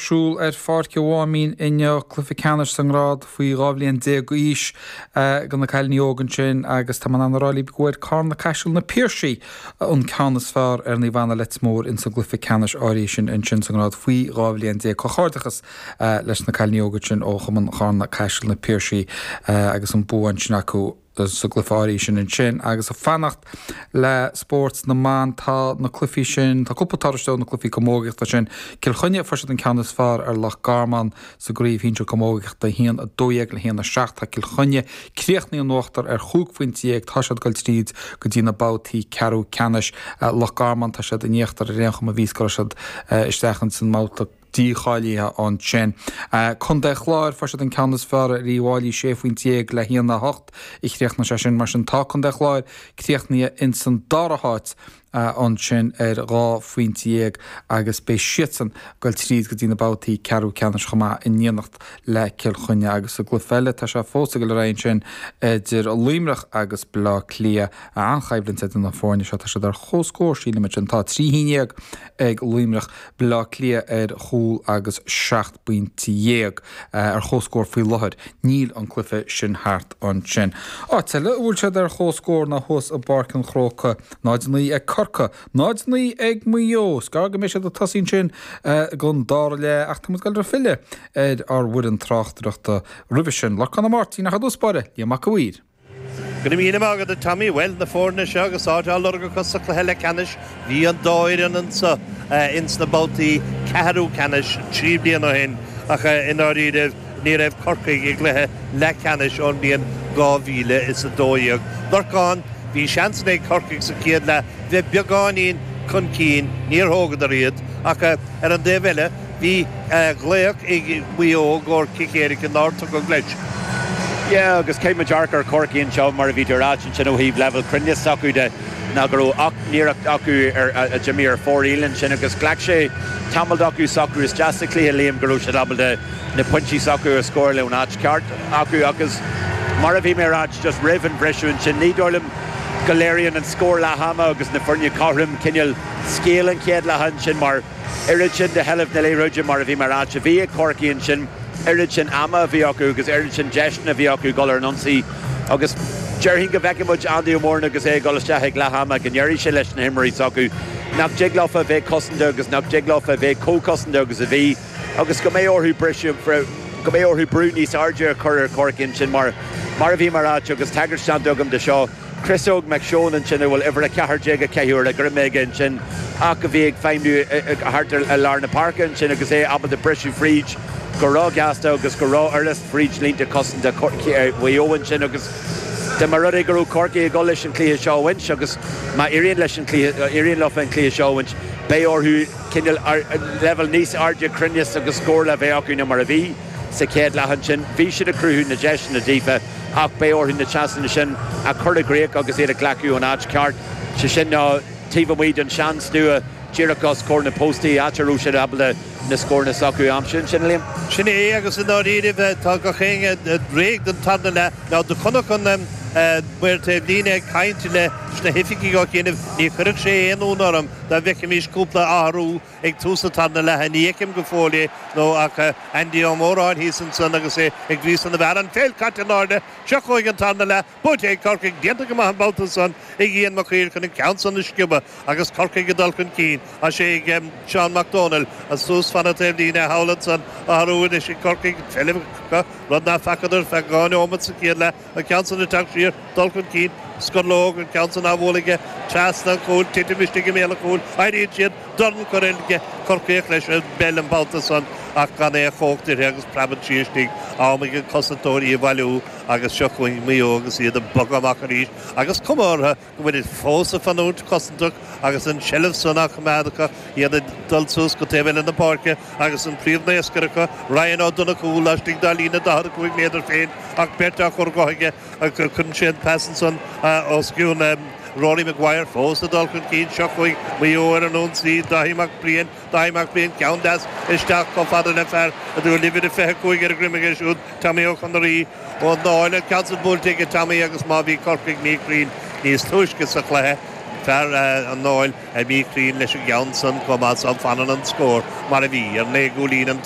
siúl ar Pháirc an Mháimín inniu, cluiche ceannais sa ngrád faoi 12 bhliain d'aois do na cailíní óga ansin agus tá mé in ann a rá libh go bhfuair Carna Caiseal Na Piarsaigh an ceann is fearr ar Naomh Anna Leitir Móir ins an gcluiche ceannais áirithe sin ansin sa ngrád faoi 12 bhliain. Comhghairdeachas leis na cailíní óga sin ó Chumann Charna Caiseal Na Piarsaigh agus an bua ansin acu. sa gcluiche áirithe sin ansin. Agus ag fanacht le spórt na mban, tá na cluichí sin, tá cúpla toradh ó na cluichí camógaíochta sin. Cill Chainnigh, fuair siad an ceann is fearr ar Loch Garman sa gcraobh shinsir camógaíochta, 1, 12 le 1, 7. Tá Cill Chainnigh críochnaithe in uachtar ar chúig phointe dhéag, tá siad ag dul tríd go dtí na babhtaí ceathrú ceannais. Loch Garman, tá siad in íochtar ar aon chuma, bhí go raibh siad isteach ins an mbabhta. dícháilithe ansin. Contae Chláir, fuair siad an ceann is fearr ar Uíbh Fhailí, 16 phointe le 1, 8 a chríochnaigh sé sin. Mar sin tá Contae Chláir críochnaithe ins an dara háit ansin ar 12 phointe agus beidh siadsan ag dul tríd go dtí na babhtaí ceathrú ceannais chomh maith in éineacht le Cill Chainnigh. Agus sa gcluiche eile tá sé fós ag dul ar aghaidh ansin idir Luimneach agus Bleá Cliath. An-choimhlint idir na foirne seo. Tá siad ar comhscór sílim ansin. Tá 3 haon ag Luimneach. Baile Átha Cliath ar chúl agus 17 bpointe ar comhscór faoi láthair. Níl an cluiche sin thart ansin. Áit eile a bhfuil siad ar comhscór ná thuas i bPáirc an Chrócaigh. 0-9 ag Corcaigh, 0-9 ag Maigh Eo. Is gearr go mbeidh siad ag tosaí ansin don dara leath ach tá muid ag dul ag filleadh ar ár bhfoireann tráchtaireachta roimhe sin. Lorcán Ó Máirtín ach i dtús báire, Liam Mac a' Mhaoir. Go raibh míle maith agat, a Tommy. Bhuel, na foirne seo agus áit á lorg acu sa chluiche leathcheannais, bhí an dá fhoireann anseo ins na babhtaí ceathrú ceannais 3 bliana ó shin ach i ndáiríribh ní raibh Corcaigh i gcluiche leathcheannais ón mbliain 2012. Lorcán, bhí seansanna ag Corcaigh sa chéad leath bheith beagáinín chun cinn, níor thógadar iad ach ar an dtaobh eile, Bhí glaoch ag Maigh Eo i gcomhair cic éirice nár tugadh leis. Yeah agus caithfidh muid amharc ar Chorcaigh anseo mar a bhí tú a ráit ansin ó thaobh leibhéal cruinneas s'acu de ná go raibh 8 n-iarracht acu ar a d'imigh ar fóraoil ansin agus ghlac sé tamall acu socrú isteach sa chluiche Liam go raibh siad ábalta na pointí s'acu a scóráil ón áit ceart acu agus mar a bhí mé a ráit just roimh an bhriseadh ansin ní dóigh liom go léiríonn an scór leath ama agus na foirne cothrom cineál scéal an chéad leath ansin mar oiread sin de sheilbh na liathróide mar a bhí mé a ráit a bhí ag Corcaigh ansin, oiread sin ama a bhí acu agus oiread sin deiseanna a bhí acu dul ar an ionsaí agus déarfainn go bhfeicfidh muid Andy Ó Móráin agus é ag dul isteach ag leath ama go ndéarfaidh sé leis na himreoirí s'acu nach dtig leofa a bheith cosanta agus nach dtig leofa a bheith chomh cosanta agus a bhí agus go mbeidh orthu briseadh, go mbeidh orthu brú níos airde a chur ar Chorcaigh ansin mar mar a bhí mé a ráit agus tagairt déanta agam de seo. Chris Óg McShane ansin a bhfuil uimhir 14 á caitheamh ar a dhroim aige ansin ach a bhí ag feidhmiú thart ar lár na páirce ansin agus é ábalta briseadh fríd go róghasta agus go rófhurast fríd línte cosanta Mhaigh Eo ansin agus dá mba rud é go raibh Corcaigh ag dul leis an chluiche seo a bhaint agus má éiríonn leis an chluiche éiríonn leofa an cluiche seo a bhaint beidh orthu cineál leibhéal níos airde cruinneas agus scórála a bheith acu ná mar a bhí sa chéad leath ansin. Bhí siad ag cruthú na deiseanna daofa. ach beidh orthu na seansanna sin a chur i gcrích agus iad a ghlacadh ón áit cheart, sé sin ná taobh amuigh den sean-stua, díreach os comhair na bpostaí, áit a raibh siad ábalta na scóranna s'acu a aimsiú ansin, Liam. Sin é, agus i ndáiríribh tá gach éinne réidh don tarna leath. Now do chonac an maor taobh líne ag caint leis na hoifigigh ó chianaibh, ní chuirfeadh sé aon ionadh orm dá bhfeicfimis cúpla athrú Ag tús an tarna leatha, ní fheicim go fóill é nó ach Andy Ó Móráin thíos ansan agus é ag gríosadh na bhfear. An pheil caite in airde. Seo chugainn an tarna leath. Buaite ag Corcaigh. Déanta go maith an babhta san ag Ian Mac Uidhir chun an ceann san a sciobadh agus Corcaigh ag dul chun cinn. Tá sé ag Seán Mac Dónaill suas fan an taobh líne thall ansan. Athrú anois ag Corcaigh. Seilbh acu, rud ná facadar feadh 2 neomat sa chéad leath. An ceann san ag teacht siar, dul chun cinn, Scorlóg, an ceann san á bhualadh aige trasna an chúil, titim istigh i mbéal an chúil, éiríonn siad, dorn curtha ag Corcaíoch leis an bpeil an babhta san ach gan aon chumhacht uirthi agus preabann sí istigh, am ag an cosantóir í a bhailiú agus seo chugainn Maigh Eo agus iad ag bogadh amach arís agus cuma orthu go bhfuilid fós ag fanúint cosantach agus an tseilbh san á coimeád acu, iad ag dul suas go taobh eile na páirce agus an príomhnaoscaire acu, Ryan Ó Donnchú, laistigh dá líne 45 méadar féin ach beirt á chur dhe aige. Cuireann sé an pas ansan os cionn Rory Maguire, fós ag dul chun cinn. Seo chugainn Maigh Eo ar an ionsaí, Dáithí Mac Briain, Dáithí Mac Briain, ceann deas isteach chomh fada le fear a bhfuil uimhir a 25 ar a dhroim aige siúd, Tommy Ó Conarí. Ón Dáil, an ceann san buailte aige Tommy agus má bhí Corcaigh míchruinn níos túisce sa chluiche, fear an Dáil míchruinn leis an gceann san chomh maith so fanann an scór mar a bhí ar naoi gcúilín an taobh.